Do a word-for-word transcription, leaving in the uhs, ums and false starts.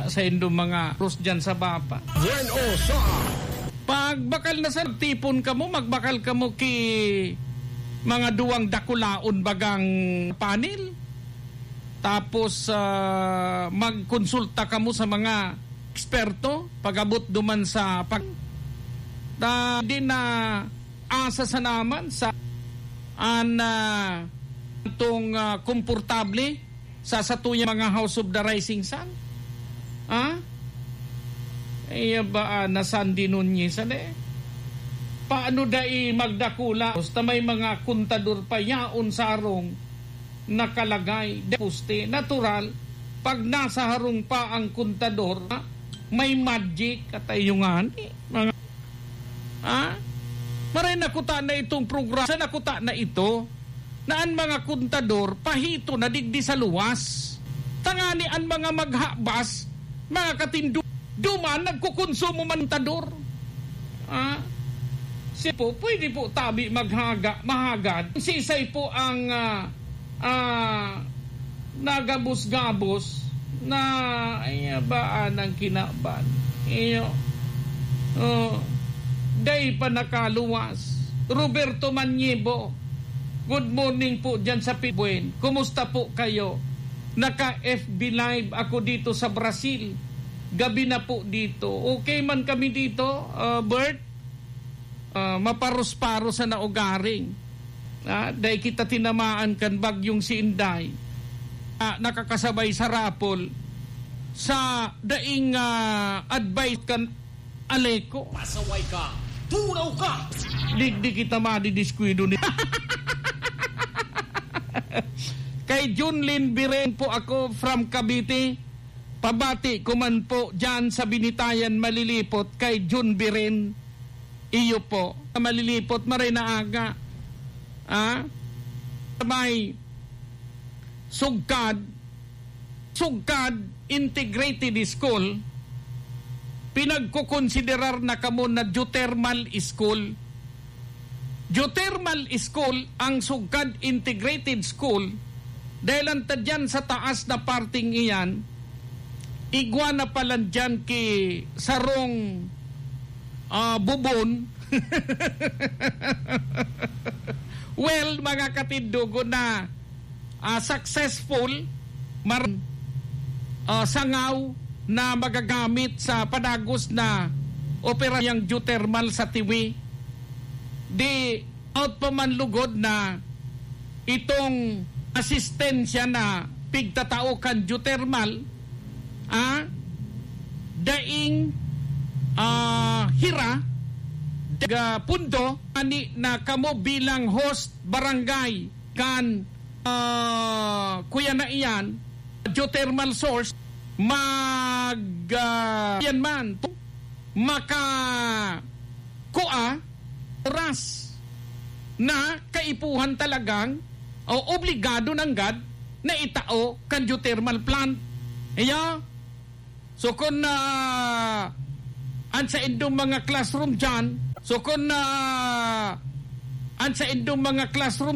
Sa indong mga krus dyan sa baba. Buen o sa Pag bakal na sa tipon kamo, magbakal kamo ki mga duwang dakulaon bagang panel. Tapos, ah, magkonsulta kamo sa mga eksperto pag-abot duman sa pag-, ta-, di na asa sa naman sa an, ah, tong, ah, komportable sa satuyang mga House of the Rising Sun? Ha? Iya ba, ah, na Sandy Nunez, ano eh? Paano dai magdakula? Basta may mga kontador pa yaon sa harong nakalagay, de poste. Natural, pag nasa harong pa ang kontador, ha? May magic, katayungan, eh, mga Ha? Maray nakuta na itong programa, sa nakuta na ito, na an mga kontador pahito na digdi sa luwas. Tangani an mga maghabas, mga katindo, duman nagkukonsumo man kontador. Ha? Si po, pwede po tabi maghaga, mahagad. Sisay po ang, ah, ah, nagabos-gabos na, ay, ba, anang kinaban. Iyo. Oh, dai pa nakaluwas. Roberto Maniebo, good morning po dyan sa Pibuen. Kumusta po kayo? Naka-F B Live ako dito sa Brazil. Gabi na po dito. Okay man kami dito, ah, Bert? Ah, maparos-paros sa naugaring. Ah, dai kita tinamaan kan bagyong si Inday. Ah, nakakasabay sa rapol sa daing, ah, advice kan Aleco. Pasaway ka! Tunaw ka! Digdi kita madidiskwido ni Kay Junlin Biren po ako from Cavite. Pabati ko man po dyan sa Binitayan Malilipot kay Jun Biren. Iyo po, Malilipot, maray na aga. Ah? May Sugkad, Sugkad Integrated School, pinagkukonsiderar na kamo na geothermal school. Geothermal school ang Sugkad Integrated School, dahil ang tadyan sa taas na parting iyan, igwa na palan dyan ki sarong, ah, bubon. Well, mga katindogon na, ah, successful, mar-, ah, sangaw na magagamit sa padagos na opera yang geothermal sa Tiwi. Di out pa man lugod na itong asistensya na pigtatao kan geothermal, ah, daing, ah, hira, daga pundo, ani na kamo bilang host barangay kan, ah, kuya na iyan, geothermal source, mag, ah, yan man, maka, kua, oras na kaipuhan talagang o obligado nanggad na itao kan geothermal plant. Iya, so kun, ah, an saindong mga classroom dyan, so kun, ah, an saindong mga classroom